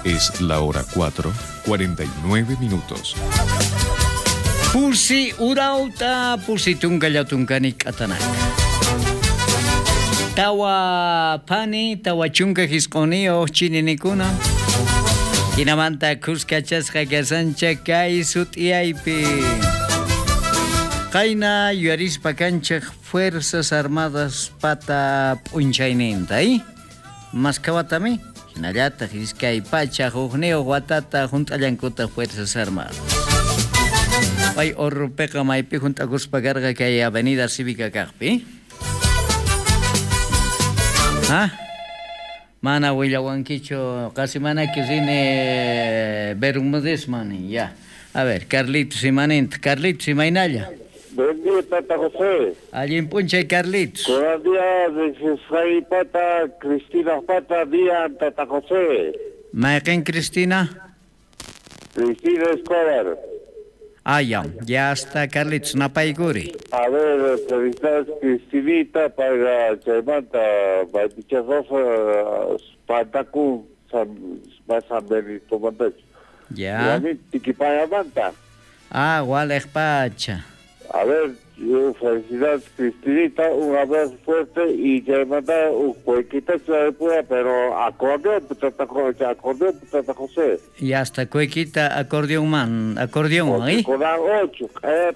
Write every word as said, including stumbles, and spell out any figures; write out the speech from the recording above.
Es la hora cuatro, cuarenta y nueve minutos. Pusi urauta, pusi tunkallatunkani k'atanaka. Tawa phani, tawa chunka hisq'uniyuq chininikuna. Hinamanta kuskachasqa kasancha kay sut'iyaypi. Qayna yuyarispa kanchik Fuerzas Armadas pata p'unchayninta, ¿eh? Maskawatami, hinallataq iskay pacha hukniyuq watata hunt'allankuta Fuerzas Armadas. Pay Orrupeqa maypi hunt'akuspa karqa kay Avenida Cívica kaqpi. ¿Ah? Mana willawankichu, casi manaki rini Bermudezman, ya. A ver, Carlitos imaninta, Carlitos imaynalla. Buen día, Tata José. Allin p'unchay, Carlitos. Buenos días, soy Pata, Cristina Pata, día, Tata José. ¿Mayqin Cristina? Cristina Escobar. Ah, ya, ya está, Carlitos, napaykuri. A ver, felicidades, Cristinita, para chaymanta, Rosa, Pantacú, San, San Benito Mandacho. Ya. Tiquipayamanta. Ah, Gualejpacha. A ver, yo, felicidades, Cristinita, un abrazo fuerte y chaymanta, un cuequita de pura, pero acordeón, tata, acordeón, tata José. Y hasta cuequita, acordeón man, acordeón, ¿eh? Con ocho, eh,